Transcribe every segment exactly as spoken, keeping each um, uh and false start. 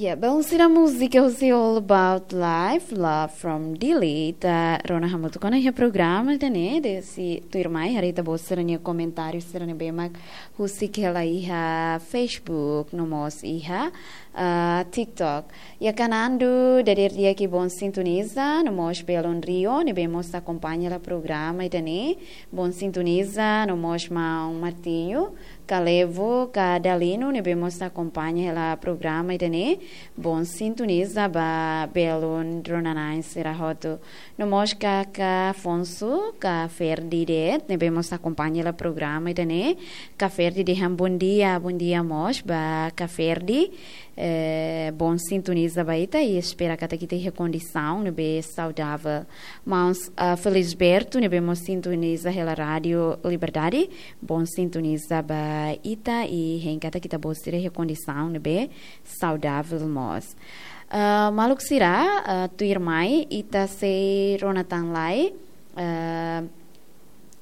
Ya, bom, sira múzika husi All About Life, Love from Dili, ita rona hamutuk ona iha programa ida-ne'e, desde tuirmai haree ita-boot sira-nia komentáriu sira ne'ebé mak husik hela iha Facebook, no mós iha, ah, TikTok. Ya, Kanandu, dadeer di'ak, bom sintoniza, no mós Belun Rio, ne'ebé mós akompaña hela programa ida-ne'e, bom sintoniza, no mós maun Martinho, Kalevo, Kadalino, ne'ebé mós akompaña hela programa ida-ne'e, bom sintoniza ba belun rona-na'in sira hotu. No mós Kaka Afonso, Ka Ferdi de'it, ne'ebé mós akompaña hela programa ida-ne'e, Ka Ferdi dehan bom dia, bom dia mós ba Ka Ferdi, eh, bom sintoniza ba ita, i espera katak ita iha kondisaun ne'ebé saudavel. Maun, ah, Felisberto, ne'ebé mós sintoniza hela Rádio Liberdade, bom sintoniza ba ita, i hein katak ita-boot sira iha kondisaun ne'ebé saudavel mós. Ah, maluk sira, ah, tuirmai, ita sei rona tan lai, ah,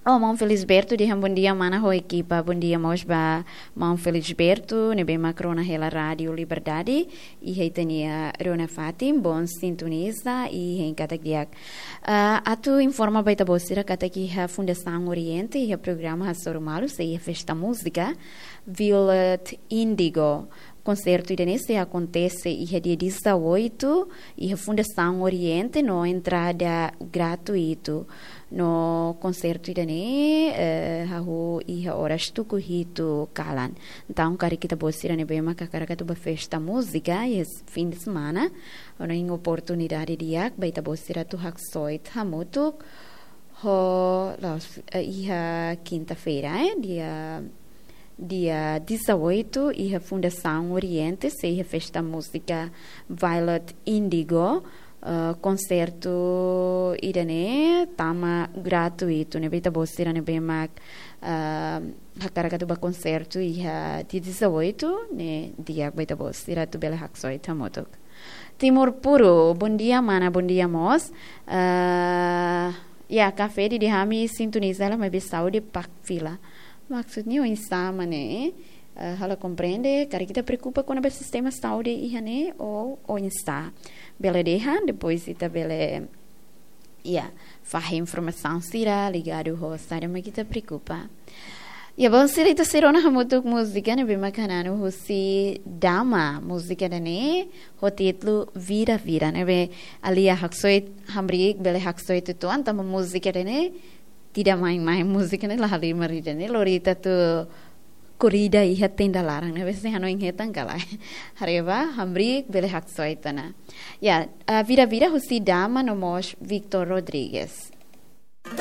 oh, maun Felisberto dehan bom dia mana ho ekipa, bom dia mós ba maun Felisberto, ne'ebé mak rona hela Rádio Liberdade, iha ita-nia rona fatin, bom sintoniza, i hein katak di'ak. Ah, atu informa ba ita-boot sira katak iha Fundasaun Oriente, iha programa hasoru malu, sei iha festa múzika, Violet Indigo. Konsertu ida-ne'e sei akontese iha dia dezoito, iha Fundasaun Oriente, no entrada gratuitu. No konsertu ida-ne'e, eh, hahú iha oras tuku hitu kalan. Entaun, karik ita-boot sira ne'ebé mak hakarak atu ba festa múzika, iha fim de semana, ona iha oportunidade di'ak, ba ita-boot sira atu haksoit hamutuk, ho, la'ós, eh, iha kinta-feira, eh, dia dia dezoito, iha Fundasaun Oriente, sei iha festa múzika Violet Indigo, eh, konsertu ida-ne'e tama gratuitu, ne'ebé ita-boot sira ne'ebé mak, eh, hakarak atu ba konsertu iha dia dezoito, ne'e di'ak ba ita-boot sira atu bele haksoit hamutuk. Timor Puro, bom dia, mana, bom dia, mós. Ah, ya, Ka Ferdi dehan ami sintoniza hela, maibé saúde pak fila. Maksudnya, oinsá mak ne'e, eh, ha'u la komprende, karik ita preokupa kona-ba sistema saúde iha ne'e, ou, oinsá. Bele dehan, depois ita bele, ya, fahe informasaun sira, ligadu ho saida mak ita preokupa. Ya, bom, sira, ita sei rona hamutuk múzika ne'ebé mak hananu husi Dama, múzika ida-ne'e ho títulu Vira Vira, ne'ebé Alia haksoit, hamriik bele haksoit uitoan, tanba múzika ida-ne'e tidak main-main, múzika ne'e la halimar ida-ne'e, lori ita atu korrida iha tenda laran, ne'ebé sei hanoin hetan ka lae. Haree bá, hamriik bele haksoit ona. Ya, ah, Vira Vira husi Dama no mós Victor Rodrigues.